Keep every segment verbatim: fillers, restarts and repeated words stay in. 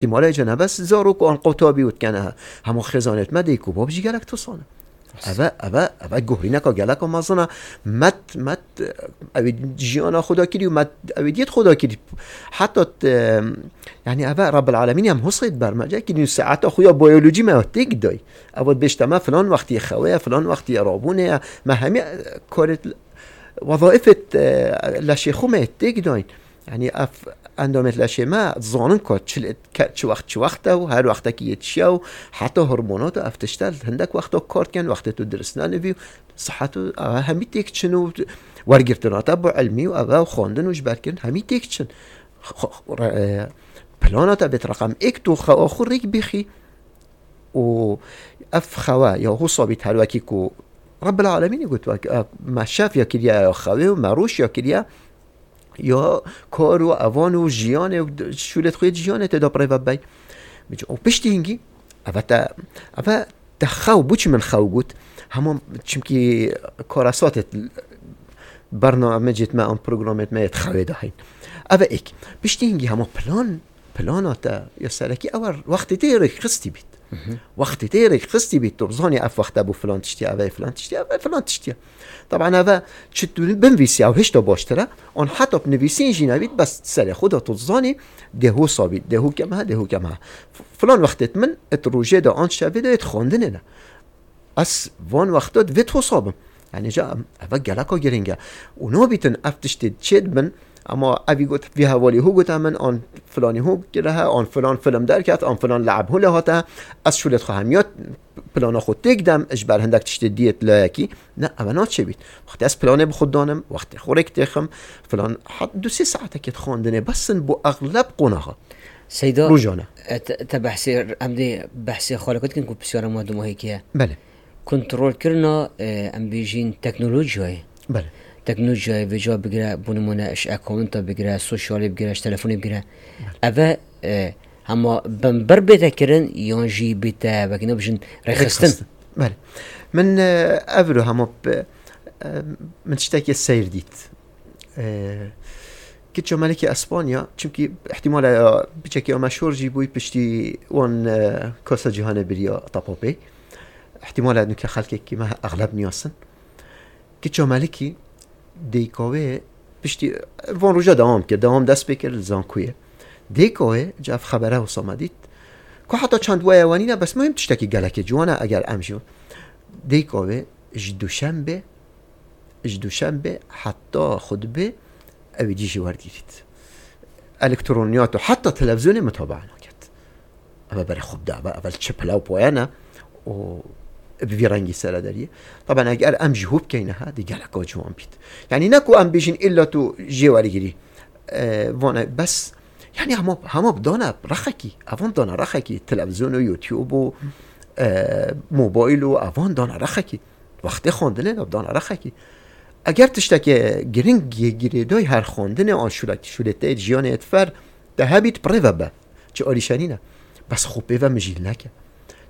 Îhtimalê cenebes zarok an qotabî û dikene. Hema xêzanêt me dê ku bab jî gelek tosane. Eve, eve, eve guhrîneka geleka mezin e. Met, met, ew ê jiyana xwe da kirî û met, ew ê diyet xwe da kirî. Heta t-, yani eve Rabbil Alemîn em husê bermece kirî û saeta xwe ya biyolojî me têk day. Ev bêjte me filan wextî xewe ye, filan wextî rabûnê ye. Me hemî, e, karê, wezaîfê, e, leşê xwe me têk dayîn. Yani ev endamêt leşê me zanin ku çi lê, ke-, çi wext, çi wext e û her wextekî yetişiye û heta hormonat û ev tişt e, hindek wexta kar dikin, wextê tu dirist nenivî û sihet û ev hemî têk çin û wergirtina te bi ilmî û ev xwendin û ji ber kirin hemî têk çin. Xwe, xwe, re-, e, plana te bêt reqem êk tu xewa xwe rêk bixî û ev xewa ya hû sabît her wekî ku Rabbil Alemînê got, wek, e, me şev ya kiriye ya xewê û me roj ya kiriye, ya kar û evan û jiyanê û d-, şûlê xwê jiyanê tê da bi rê ve bey. Û piştî hingî, eve te, eve te xew, bû çi min xew got? Hema çimkî karasatê bernamecêt me an programêt me yê xewê dahîn. Eve êk. Piştî hingî hema plan, plana te ya serekî ew e wextê tê rêkxistî bît. Wextê tê rêkxistî bît, tu bizanî ev wexte bû filan tiştî, ev ê filan tiştî, ev ê filan tiştî. Taban eve çi tu binivîsî ew hişta baştir e, an heta bi nivîsîn jî nebît, bes serê xwe de tu dizanî, dê hûsa bît, dê hû keme he, dê hû keme he. F-, filan wextêt min, et rojê de an şevê de et xwendinê ne. Ez van wexta divê hûsa bim. Yani ca em, eve geleka girîng e. Û nabîtin ev tiştê çê dibin, ama evî got, vî hevalî hû gote min, an filanî hû kire he, an filan film derket, an filan le'eb hû lê hate. Ez şûlê xwe hemiya plana xwe têk dem, ji ber hindek tiştê diyet layekî. Ne, eve naçê bît. Wextê ez planê bi xwe danim, wextê xwe rêk têxim, filan hat du sê saetekê dixwandinê, bes in bo exleb qonaxa. Seyda, Rojane. e, te, te behsê, em dê behsê xalê xwe dikin ku pisyara ma dumahî kiye. Belê. Kontrolkirina, e, em bêjîn teknolojiyayê. Belê. Teknolojiyayê vêca bigire, bo nimûne ji accounta bigire, sosyalê bigire, ji telefonê bigire. Belê. Eve, e, hema binber bête kirin yan jî bête, wekî nebijin, rêxistin. Rêxistin. Belê. Min, e, ev ro hema bi, e, min tiştekê seyr dît. E, Kiça Melikî Espanya, çimkî ihtimala ya piçekî ya meşhur jî bûyî piştî wan, e, Kasa Cîhanê biriya tapa pê. Ihtimala nuke xelkekî me exleb niyasin. Kiça Melikî dêka wê piştî van roja dewam kir, dewam dest pê kir li Zankuyê. Dêka wê, ca ev xebere wisa me dît. Ku heta çend weye wenîne, bes muhim tiştekî gelekê ciwan e, eger em jî. Dêka wê ji Duşembê, ji Duşembê heta xutbê ew ê dî jî wergirît. Elektroniyat û heta televîzyonê mutabaa naket. Eve berê xwe bide, eve, eve li çi pila û poye ne û bi vî rengî sere deriyê. Taban eger em jî hû bikeyne ha, dê geleka ciwan bît. Yani ne ku em bêjin îlla tu jê wergirî. E, vane bes, yani hema, hema bi dana rexekî, evan dana rexekî, televîzyon û YouTube û, e, mobayl û evan dana rexekî. Wextê xwendinê de bi dana rexekî. Eger tiştekê giring yê girêdayî her xwendinê an şûlek-, şûlê te yê jiyanê yê difer, te hebît pirê ve be. Çi alîşenî ne. Bes xwe pê ve mijîl neke.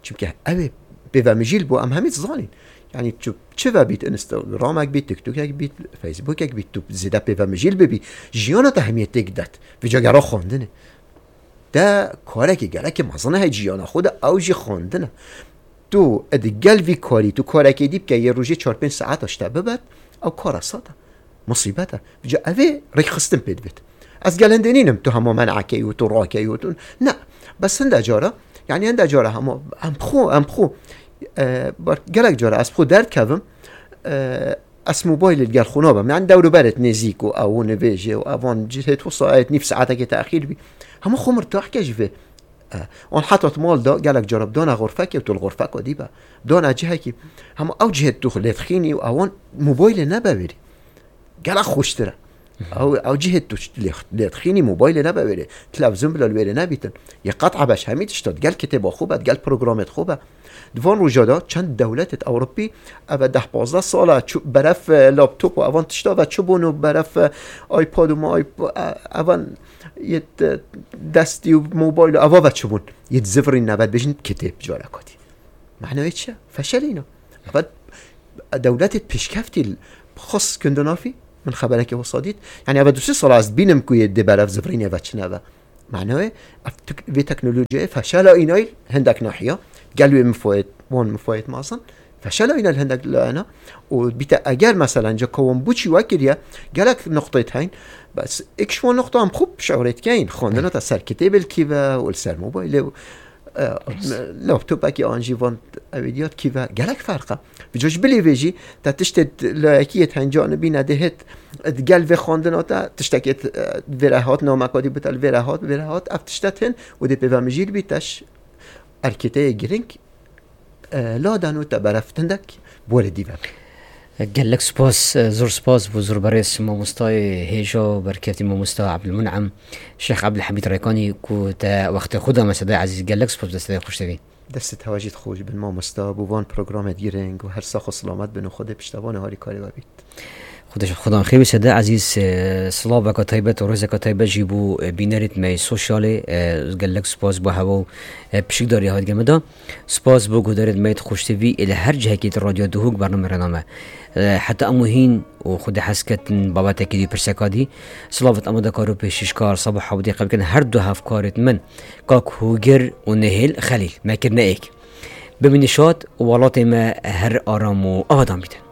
Çimkî ew ê pê ve mijîl bû, em hemî dizanîn. Yani çi, çi ve bît, Instagramek bît, TikTokek bît, Facebookek bît, tu zêde pê ve mijîl bibî, jiyana te hemiyê têk det. Vêca gera xwendinê. Te karekî gelekî mezin heye jiyana xwe de, ew jî xwendin e. Tu digel vî karî, tu karekê dî bike, yê rojê çar pênc saeta ji te bibet, ew kara sat e. Musîbet e. Vêca ev ê rêkxistin pê dibêt. Ez gel hindê nînim, tu hema men'ekey û tu rakey û tu. Ne. Bes hinde cara, yani hinde cara hema em xwe, em xwe, e, bar-, gelek cara ez xwe derdikevim, e, ez mobaylê li gel xwe nabim. Yani dewr û berê nêzîk û ew û nivêjê û evan cihê tu saet nîv saetekê texîr bî. Hema xwe mirtah ke ji vê. E, an heta di mal de gelek cara bi dana xurfekê û tu li xurfeka dî be. Dana cihekî. Hema ew cihê tu lê dixînî û ewan mobaylê nebe wêrî. Gelek xweştir e. Ew, ew cihê tu lê, lê dixînî mobaylê nebe wêrê. Televîzyon bila li wêrê nebîtin. Yê qet ebeş hemî tişta digel kitêba xwe be, digel programêt xwe be. Di van roja de çend dewletêt Ewropî eve deh pazdeh sal e çû-, beref, e, laptop û evan tişta ve çi bûn û beref, e, iPad û ma iP-, e, evan yê, e, destî û mobayl û eva ve çi bûn. Yê dizivirîn nebe dibêjin kitêb careka dî. Manayê çi ye? Feşelîna. Eve dewletê pêşkeftî l-, xwe skundinafî, min xeberekê wisa dît. Yani eve du sê sala ez dibînim ku yê dê berev zivirînê ve çine ve. Manayê, ev tek-, vê teknolojiyê feşela înayî hindek nahiya, gel wê mifayet, wan mifayet mazin, feşela înayî hindek layena, û bîte eger, meselen, ceka wan bûçî wekiriye, gelek nuqteyê heyîn, bes êk ji wan nuqta em xwe şiûrê dikeyin, xwendina te ser kitêbê li kî ve û li ser mobaylê û, e, laptopekî an jî van ew ê diya di kî ve, gelek ferq e. Bi coj bilî vê jî, te tiştê layekî yê tenca nibîne dê hêt, di gel vê xwendina te, tiştekê t-, vê re hat, nameka dî bi te li vê re hat, vê re hat, ev tişte tên û dê pêve mijîl bî te ji erkêteyê girîng, e, laden û te beref tindek borê dî ve. Gelek spas, e, zor spas bo zor berêz mamostayê hêja û berkeftî mamosta Ebdulmun'em Şêx Ebdulhamîd Rêkanî ku te wextê xwe da me Sedayê Ezîz. Gelek spas bi destê xweş tevî. Destê te jî xweş bin mamosta, bo van programê girîng û her sax û selamet bin û Xwedê piştevanê harîkarê we bît. Xwedê ji xudan xêr bî Sedayê Ezîz, e, silaveka taybet û rêzeka taybet jî bo, e, bînerêt me yê sosyalê, e, gelek spas bo hewa û, e, pişikdarî hat gel me da. Spas bo guhdarêt me yê Xweş T V ê li her cihekî di Radyo Duhok bername re name. E, heta em û hîn û Xwedê hez ketin babetekî dî pirseka dî. Silavêt amadekar û pêşîşkar Sabo Hewdî qebkirine her du hevkarêt min, Kak Hûgir û Nihêl Xelîl. Me kirine êk. Bimîne şad û welatê me her aram û avadan bîte.